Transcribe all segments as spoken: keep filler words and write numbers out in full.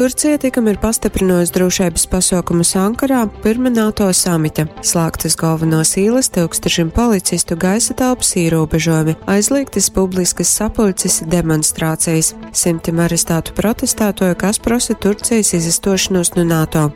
Turcija tikam ir pastyprynuojusi drūšeibys pasuokumus Ankarā pyrma NATO samita. Slāgtys golvonuos īlys, tyukstušim policistu, gaisa telpys īrūbežuojumi, aizlīgtys publiskys sapuļcis i demonstrācejis. Symtim arrestātu protestātuoju, kas prosa Turcejis izastuošonūs nu NATO.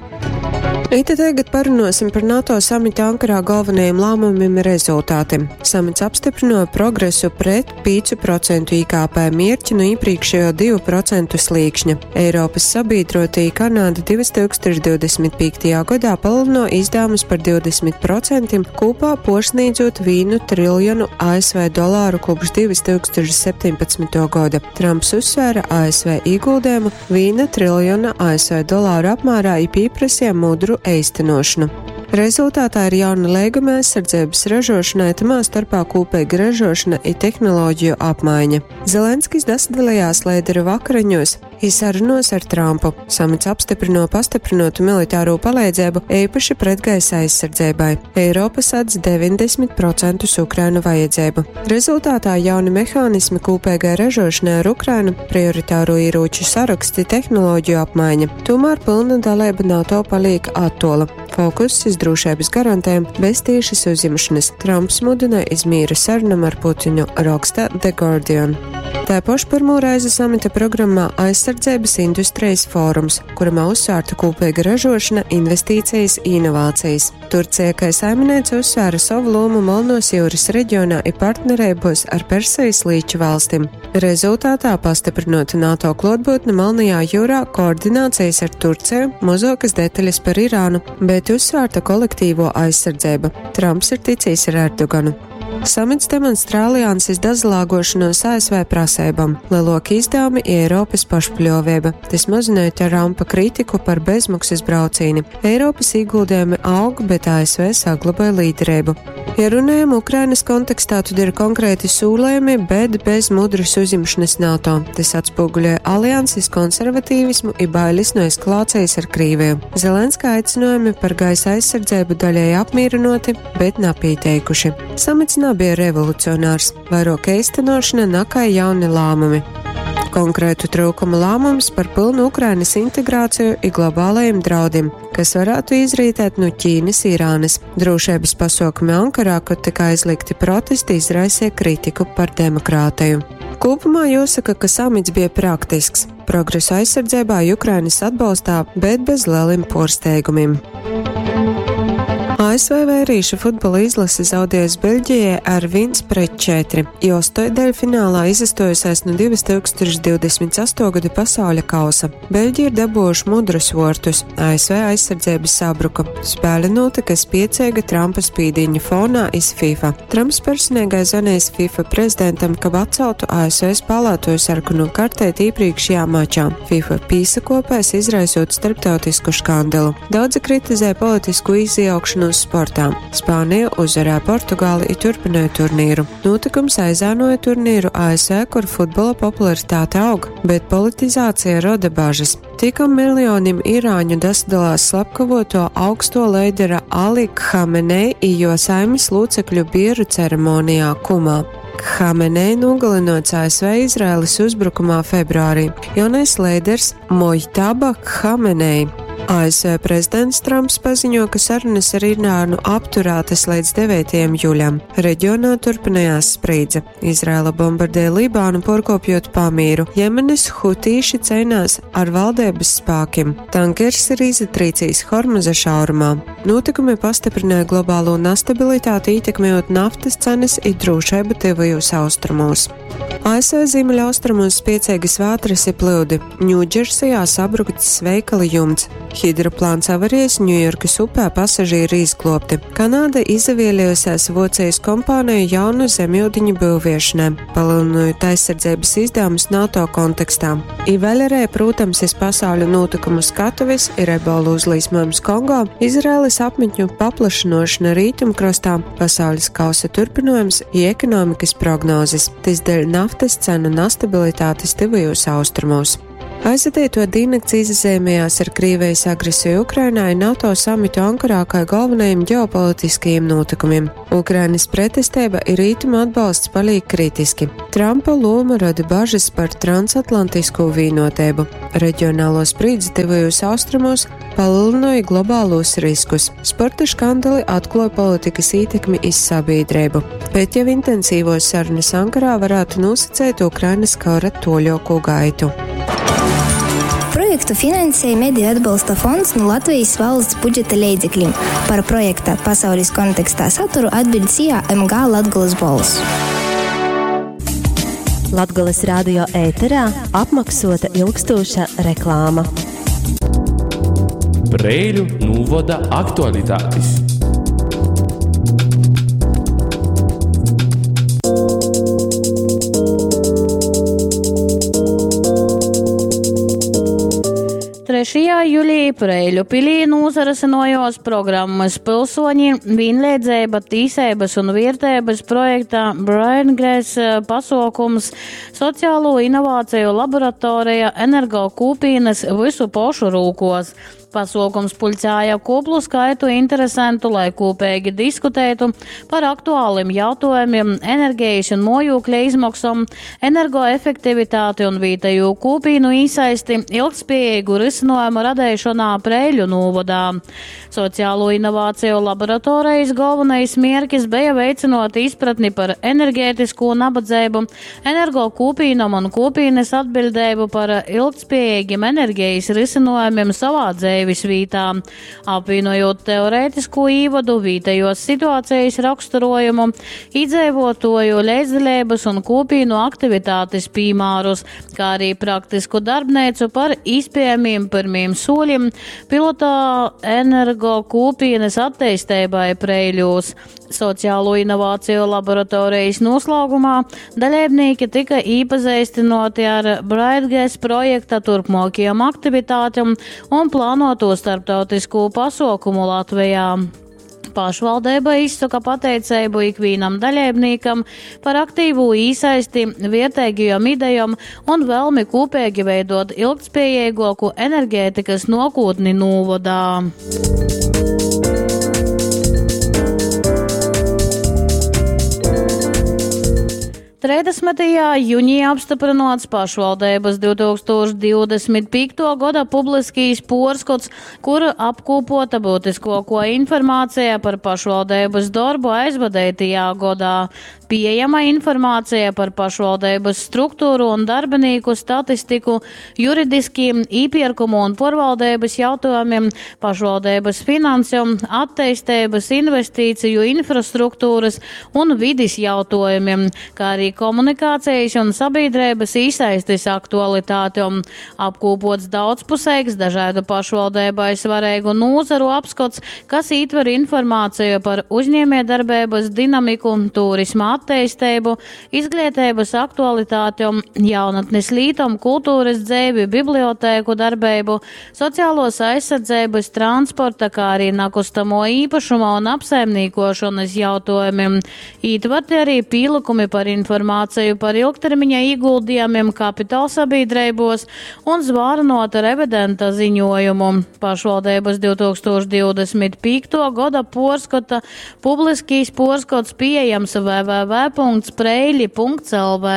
Ite tagad parunuosim par NATO samita Ankarā galvenajiem lāmumim i rezultatim. Samits apstyprynuoja progresu pret pīcu procentu I K P mierķi nu īprīkšējo divu procentu slīkšņa. Eiropys sabīdrotī Kanāda divi tūkstoši divdesmit pīktajā godā palielino izdevumus par divdesmit procentim, kopā puorsnīdzot vīnu triljonu A S V dolāru kopš divi tūkstoši septiņpadsmituo goda. Trumps uzsvēra A S V ieguldījumu viena triljona A S V dolāru apmērā i pieprasīja mudru eistenošanu. Rezultātā ir jauna leiguma aizsardzības ražošanai, tamā starpā kopīga ražošana i tehnoloģiju apmaiņa. Zelenskis dasadalījās lēderu vakariņos i sarunos ar Trumpu. Samits apstiprino pastiprinotu militāro palīdzību īpaši pretgaisa aizsardzībai. Eiropa sadz deviņdesmit procentus Ukrainu vajadzību. Rezultātā jauni mehānismi kopīgai ražošanai ar Ukrainu, prioritāro ieroču saraksti, tehnoloģiju apmaiņa. Tomēr pilna dalība NATO paliek attola. Fokuss iz drošības garantēm bez tiešas uzņemšanas. Trumps mudināja iz mīra sarunam ar Putinu, raksta The Guardian. Tā paša pirmo reizi samita programmā aizsardzības industrijas fórums, kuramā uzsvērta kopīga ražošana, investīcijas, inovācijas. Turcija, kā saimniece, uzsvēra savu lomu Melnos jūras reģionā i partnerībos ar Persijas līča valstīm. Rezultātā pastiprinot NATO klātbūtni Melnajā jūrā, koordinācijas ar Turciju, mazākas detaļas par Irānu, bet uzsvērta kolektīvo aizsardzība. Trumps ir ticies ar Erdoganu. Samits demonstrē alianses dazalāgošanos A S V prasībām, lielāki izdevumi i Eiropas pašpļāvība. Tas mazināja Trumpa kritiku par bezmaksas braucīni. Eiropas ieguldījumi aug, bet A S V saglabāja līderību. Ja runājam Ukrainas kontekstā, tad ir konkrēti sūlējumi, bet bez mudras uzņemšanas NATO. Tas atspoguļoja alianses konservatīvismu i bailes no eskalācijas ar Krieviju. Zelenska aicinājumi par gaisa aizsardzību daļēji apmierinoti, bet napīteikuši. Samits nav bija revolucionārs, vairāk īstenošana nakai jauni lēmumi. Konkrētu trūkumu lēmums par pilnu Ukrainas integrāciju i globālajiem draudiem, kas varētu izrietēt no Ķīnas, Irānas. Drošības pasākumi Ankarā, kur tika aizliegti protesti, izraisīja kritiku par demokrātiju. Kopumā jāsaka, ka samits bija praktisks. Progresu aizsardzībā Ukrainas atbalstā, bet bez lieliem porsteigumiem. A S V vērīšu futbola izlase zaudējusi Beļģijai ar viens pret četri, jo daļfinālā izastojusies no divas tūkstoši divdesmit astoto gada pasauļa kausa. Beļģija ir dabūjuši mudrus vortus, A S V aizsardzības sabruka. Spēle notika spiecīga Trumpa spīdiņa fonā iz FIFA. Trumps personīgai zvanījis FIFA prezidentam, kab atceltu A S V spēlētoju sarkanu kartēt iepriekšējā mačā. FIFA pīsakopēs izraisot starptautisku škandalu. Daudzi kritizē politisku izjaukšanos sportā. Spānija uzvarēja Portugāli i turpināja turnīru. Notikums aizēnoja turnīru A S V, kur futbola popularitāte aug, bet politizācija roda bažas. Tikam miljonim irāņu dasadalās slepkavoto augsto leidera Ali Khamenei i jo saimis locekļu bieru ceremonijā Kumā. Khamenei nogalinots A S V Izraēlas uzbrukumā februārī. Jaunais leiders Mojtaba Khamenei. A S V prezidents Trumps paziņo, ka sarunas ar Irānu apturētas līdz devītajam jūlijam. Reģionā turpinājās sprīdze. Izraela bombardēja Libānu, porkopjot pamīru. Jemenes hutīši cīnās ar valdības spēkiem. Tankers ir izatrīcījis Hormuza šaurumā. Notikumi pastiprināja globālo nestabilitāti, ietekmējot naftas cenas i drošību tuvajos austrumos. A S V ziemeļaustrumos spiecīgas vētras ir plūdi. Ņūdžersijā sabrukts veikala jumts. Hidroplāns avarijas Ņujorkas upē pasažieri izglobti. Kanāda izavielījusies Vocijas kompāniju jaunu zemjūdiņu būviešanai, palielinot aizsardzības izdevumus NATO kontekstā. I vēl arī, protams, iz pasauļa notikumu skatuves ir ebola uzlīsmojums Kongo, Izraēlas apmetņu paplašinošana rietumkrastā, pasaules kausa turpinājums i ekonomikas prognozes. Tas dēļ naftas cenu nestabilitātes tuvajos austrumos. Aizvadītuo dīnnakts izazeimējās ar Krīvijas agresiju Ukrainā i NATO samitu Ankarā kai galvenajiem ģeopolitiskajiem nūtykumiem. Ukrainas pretesteiba i Rītumu atbalsts palīk kritiski. Trampa loma rada bažas par transatlantisko vīnoteibu. Reģionālo sprīdzi tuvajos austrumos palielināja globālos riskus. Sporta škandali atklāja politikas ietekmi iz sabiedrību. Bet jau intensīvos sarunas Ankarā varētu nosacīt Ukrainas kara toļoku gaitu. Projektu finansēja Mediju atbalsta fonds no Latvijas valsts budžeta leidzekļiem. Par projekta pasaules kontekstā saturu atbild S I A M G Latgolas Bols. Latgolas radio ēterā apmaksota ilgstoša reklāma. Preiļu novada aktualitātes. Trešajā jūlijā Preiļu pilī nūsarasinojos programmas pilsoņi vienlīdzība, tīsības un vērtības projekta Braingrass pasaukums sociālo inovāciju laboratorija energo kūpīnas visu pošu rūkos. Pasaukums pulcēja koplu skaitu interesantu, lai kopīgi diskutētu par aktuāliem jautājumiem, enerģijas un mojūkļa izmaksām, energoefektivitāti un vietējo kūpīnu īsaisti, ilgspējīgu risinājumu radīšanā Preiļu novadā. Sociālo inovāciju laboratorijas galvenais mērķis bija veicinot izpratni par enerģētisko nabadzību, energo kūpīnam un kūpīnes atbildību par ilgspējīgiem enerģijas risinājumiem savā dzīvē. Vītā, apvienojot teorētisko īvadu, vītējos situācijas raksturojumu, iedzīvotoju līdzdalības un kopīnu aktivitātes piemērus, kā arī praktisku darbnīcu par iespējamiem pirmiem soļiem pilotā energo kopienas attīstībai Preiļos. Sociālo inovāciju laboratorijas noslēgumā dalībnieki tika iepazīstināti ar Brightgas projekta turpmākajām aktivitātēm un plānoto starptautisko pasaukumu Latvijā. Pašvaldība izsaka pateicību ikvienam dalībniekam par aktīvu īsaisti, vērtīgajām idejām un vēlmi kopīgi veidot ilgtspējīgāku enerģētikas nākotni novadā. trīsdesmitajā jūnijā apstiprināts pašvaldības divtūkstoš divdesmit piekto gada publiskīs porskots, kur apkopota būtiskāko informācija par pašvaldības darbu aizvadītajā gadā. Pieejama informācija par pašvaldības struktūru un darbinieku statistiku, juridiskiem īpirkumu un porvaldības jautājumiem, pašvaldības finansējumu, attīstības, investīciju, infrastruktūras un vides jautājumiem, kā arī komunikācijas un sabiedrības īsaistes aktualitātēm. Apkūpots daudzpusīgs dažādu pašvaldībai svarīgu nozaru apskats, kas ietver informāciju par uzņēmējdarbības dinamiku, turisma attīstību, izglītības aktualitātēm, jaunatnes lītom, kultūras dzīvi, bibliotēku darbību, sociālos aizsardzības, transporta, kā arī nakustamo īpašuma un apsaimniekošanas jautājumiem. Ietverti arī pielikumi par informāciju par ilgtermiņa ieguldījumiem kapitāla sabiedrībos un zvārinota revidenta ziņojumu. Pašvaldības divtūkstoš divdesmit piekto gada porskata publiskīs porskots pieejams w w w punkts preili punkts l v.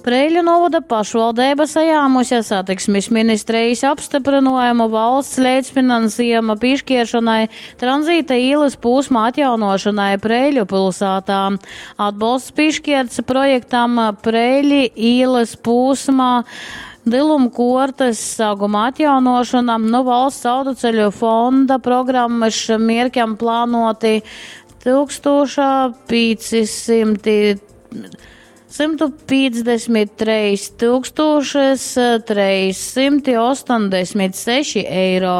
Preiļu novada pašvaldība sajāmusi satiksmes ministrijas apstiprinājumu valsts līdzfinansējuma piešķiršanai tranzīta ielas posma atjaunošanai Preiļu pilsētā. Atbalsts piešķirts projektam Preiļi ielas posmā Dilumkortes saguma atjaunošana no valsts autoceļu fonda programmas mierķam plānoti tūkstoš piecsimt simtu piecdesmit trīs tūkstošus trīs simti astoņdesmit seši eiro.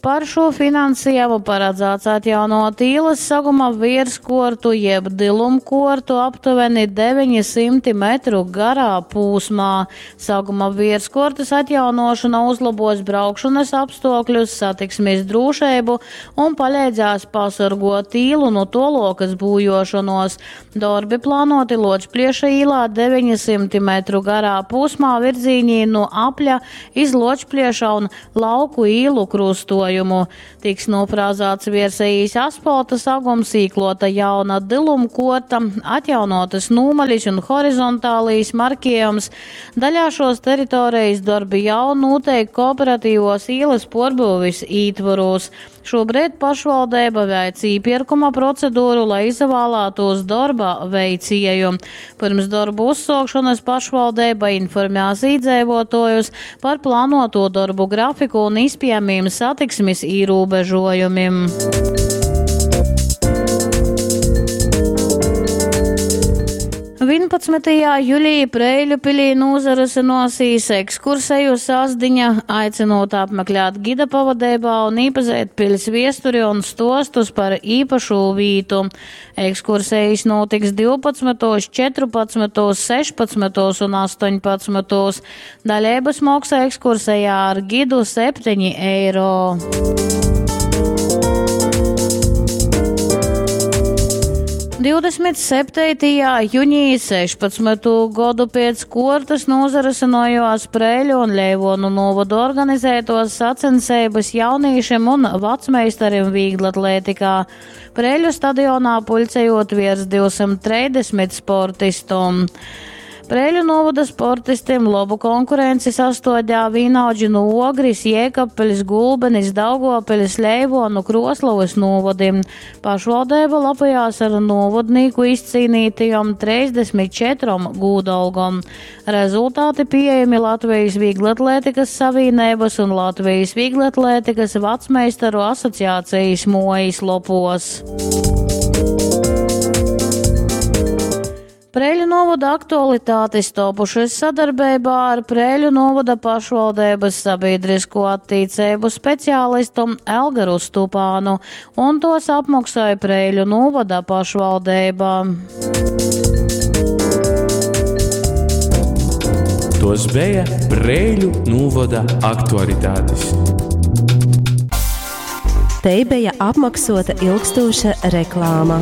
Par šo finansējumu paredzēts atjaunot īlas saguma virskortu jeb dilumkortu aptuveni deviņi simti metru garā pūsmā. Saguma virskortas atjaunošana uzlabos braukšanas apstākļus, satiksmes drošību un palīdzēs pasargot īlu no tolokas būjošanos. Darbi plānoti Ločplieša īlā deviņi simti metru garā pūsmā virzīnī no Apļa iz Ločplieša un Lauku īlu krustojumu. Tiks nofrāzāts viersējīs asfalta sagums, īklota jauna dilumkorta, atjaunotas nūmaļas un horizontālīs markējums. Daļā šos teritorijas darbi jau notiek kooperatīvos ielas porbūvis ītvaros. Šobrīd pašvaldība veic īpirkuma procedūru, lai izvēlētos darba veicēju. Pirms darbu uzsākšanas pašvaldība informēs iedzīvotājus par plānoto darbu grafiku un iespējamiem satiksmes ierobežojumiem. vienpadsmitajā jūlijā Preiļu pilī nozarusinosīs ekskurseju sasdiņa, aicinot apmeklēt gida pavadībā un iepazīt pils viesturi un stostus par īpašu vītu. Ekskursijas notiks divpadsmitos, četrpadsmitos, sešpadsmitos un astoņpadsmitos. Dalības maksa ekskursijā ar gidu septiņi eiro. Divdesmit septītajā jūnijā sešpadsmito godu pēc kortas nozarusinojās Preiļu un Leivonu novadu organizētos sacensības jaunīšiem un vecmeistarim vieglatlētikā. Preiļu stadionā puļcējot virs divsimt trīsdesmit sportistu. Preiļu novada sportistiem labu konkurenci sastodļā vīnaudži no Ogris, Jēkabpilis, Gulbenis, Daugavpilis, Leivonu, Kroslovas novadim. Pašvaldība lepojās ar novadnieku izcīnītajām trīsdesmit četrom gūdalgom. Rezultāti pieejami Latvijas Vieglatlētikas savienības un Latvijas Vieglatlētikas vecmeistaru asociācijas mojas lopos. Preiļu novada aktualitātes topušas sadarbībā ar Preiļu novada pašvaldības sabiedrisko attīcību speciālistu Elgaru Stupānu, un tos apmaksāja Preiļu novada pašvaldība. Tos bija Preiļu novada aktualitātes. Te bija apmaksota ilgstoša reklāma.